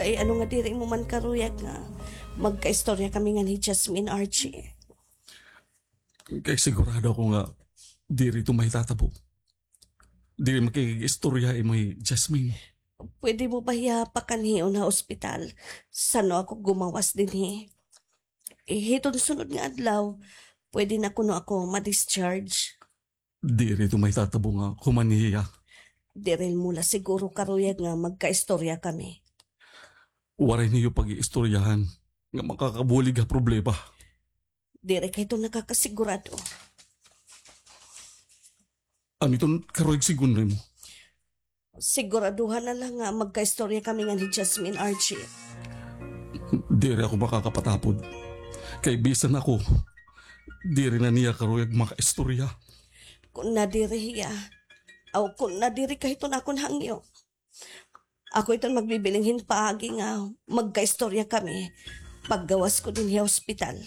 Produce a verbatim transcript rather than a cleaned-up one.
Ay, ano nga diri mo man karuyag nga magkaistorya kami ngan hi Jasmine, Archie? Kay sigurado ako nga diri ito mahitatabo. Diri makikig-istorya imo hi Jasmine. Pwede mo ba hiya pakanhion ha ospital? San-o ako gumawas dinhi? Eh, hiton sunod nga adlaw, pwede na kuno ako ma-discharge. Diri ito mahitatabo nga human hiya. Diri mo la siguro karuyag nga magkaistorya kami. Waray niyo pag-iistoryahan nga makakabulig ha problema. Diri kay ito nakakasigurado. Ano iton karuyag sigun nimo? Siguraduhan na la nga magkaistorya kami ngan hi Jasmine, Archie. Diri ako makakapatapod. Kay bisan ako, diri na niya karuyag makaistorya. Kun nadiri hiya, aw kun nadiri ka hiton akon hangyo, ako iton magbibiling hin paagi nga magkaistorya kami paggawas ko dinhi ha ospital.